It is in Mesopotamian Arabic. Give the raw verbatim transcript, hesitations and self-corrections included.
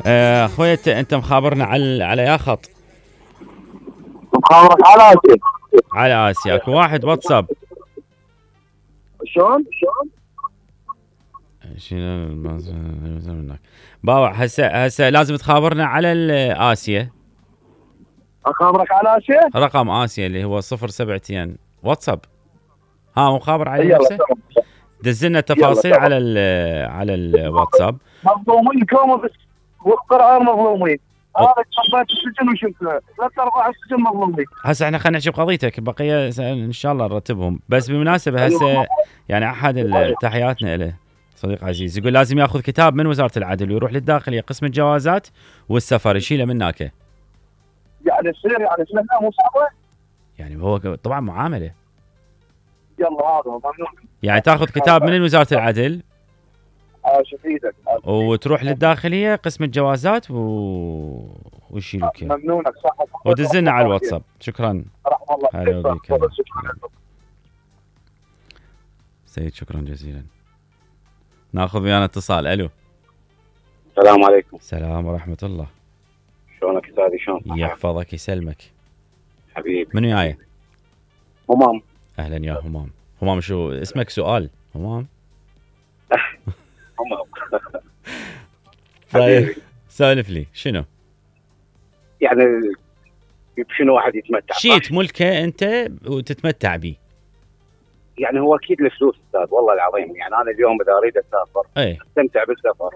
آه، اخوي انت انت مخابرنا على على يا خط؟ مخابرك على اسيا. على اسيا. اكو واحد واتساب. شلون؟ شلون؟ شنو باوع؟ هسه هسه لازم تخابرنا على اسيا. اخابرك على اسيا؟ رقم اسيا اللي هو صفر سبعتين واتساب. ها مخابر عليه يلا نفسه؟ تمام. دزلنا التفاصيل يلا على ال على الواتساب. مظلومين كوم بس والقرار مظلومين. هذا تربيت السجن وشفته ثلاث ارباع السجن مظلومين. هسه احنا خلينا نحكي بقضيتك، بقيه ان شاء الله نرتبهم. بس بالمناسبه هسه يعني احد تحياتنا له صديق عزيز يقول لازم ياخذ كتاب من وزاره العدل ويروح للداخليه قسم الجوازات والسفر يشيله من هناك. يعني تصير يعني سنه مو صعبه؟ يعني هو طبعا معامله. يلا هذا ممنون. يعني تاخذ كتاب من وزاره العدل عاش ايدك وتروح للداخليه قسم الجوازات و... ويشيلوك اياه. ممنونك صح. ودزلنا على الواتساب. شكرا. رحم الله. هلا بك. سيد شكرا جزيلا. ناخذ ويانا اتصال. الو. السلام عليكم. السلام ورحمه الله. شلونك استاذي؟ شلون؟ يحفظك يسلمك حبيبي. من وياي؟ همام. اهلا يا همام. همام شو اسمك؟ سؤال همام. همام. طيب سولف لي شنو؟ يعني شنو واحد يتمتع؟ شيء تملكه انت وتتمتع به. يعني هو اكيد الفلوس استاذ والله العظيم. يعني انا اليوم اذا اريد اسافر اي استمتع بالسفر